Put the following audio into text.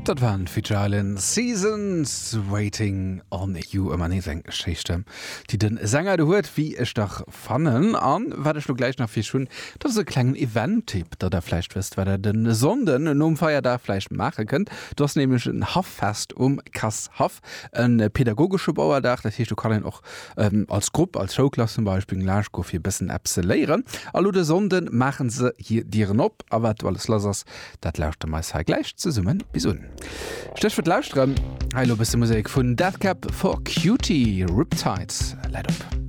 Dat waren d'Future Islands Seasons Waiting on You. Ëmmer nees eng schéi Stëmm, déi de Sänger do huet, wéi ech dach fannen. An wat ech lo gläich nach fir iech hunn, dat ass e klengen Event-Tipp, datt der vläicht wësst, wat der de Sonnden nom Feierdag vläicht maache kënnt. Do ass nämlech en Haffest um Kass-Haff, e pedagogesche Bauerdag. Dat heescht, do kann een och als Grupp, als Schoulklass zum Beispill, laanscht goe fir e bëssen eppes ze léieren. A lo de Sonnde maache se hir Dieren op. A wat do alles lass ass, Dat lauschteren mer eis hei gläich zesummen bis un. Stéchwuert lauschteren, hei elo e bësse Musek vun Death Cab for Cutie, Riptide läit op.